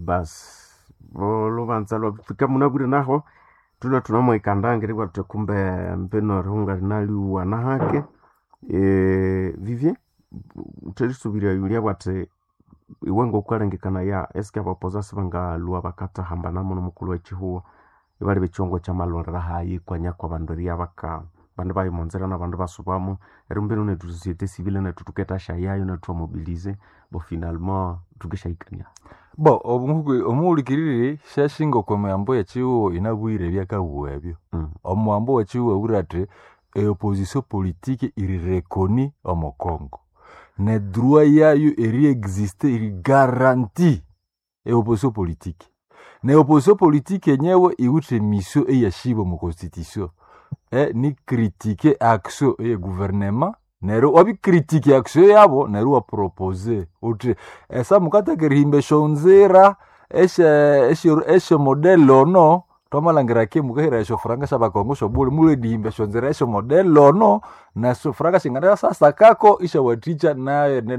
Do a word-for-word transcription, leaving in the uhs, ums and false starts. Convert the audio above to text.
Basi olubanza lwafika munabwire naho thulwe thunamwikanda ngeri bwathu kumbe mbino erihunga rinaliwa nahake. Eh, Vivien utherisubiria yulia bwathi iwe ngokukalengekanaya eske abapoza sibangalhwa bakathahambana muno mukulhu wekihugho ibaleba ekighongo kyamalhwalira hayi kwanya kwabandu eribya baka abandu bayimonzera nabandu ibasubamo neryo mbino nethu société civile nethu thukethasyayayo nethu ithwamobilize bo finalement thukisyahikania. Bo omuhulikiriri syashinga okwa miyambo y'ekihugho yinabwire ebyakabugha ebyo. Mm. Omuhambo w'ekihugho abwire athi eopposition politique iri reconnue omo Congo. Ne droit yayo eri existe iri garantie eopposition politique. Ne opposition politique yenyewe iwithe mission eyashibwa omo constitution. E, ni critique action eye gouvernement neryo wabicritique action yabo neryo iwapropose uthi esa mukathaka erihimba esyonzira esye esye esyomodele ono twamalhangira ki mukahira esyofuranga syabakongo syobule mulwe esyonzira esyomodele ono nesyofuranga singanasasakako isyawathikya nayo.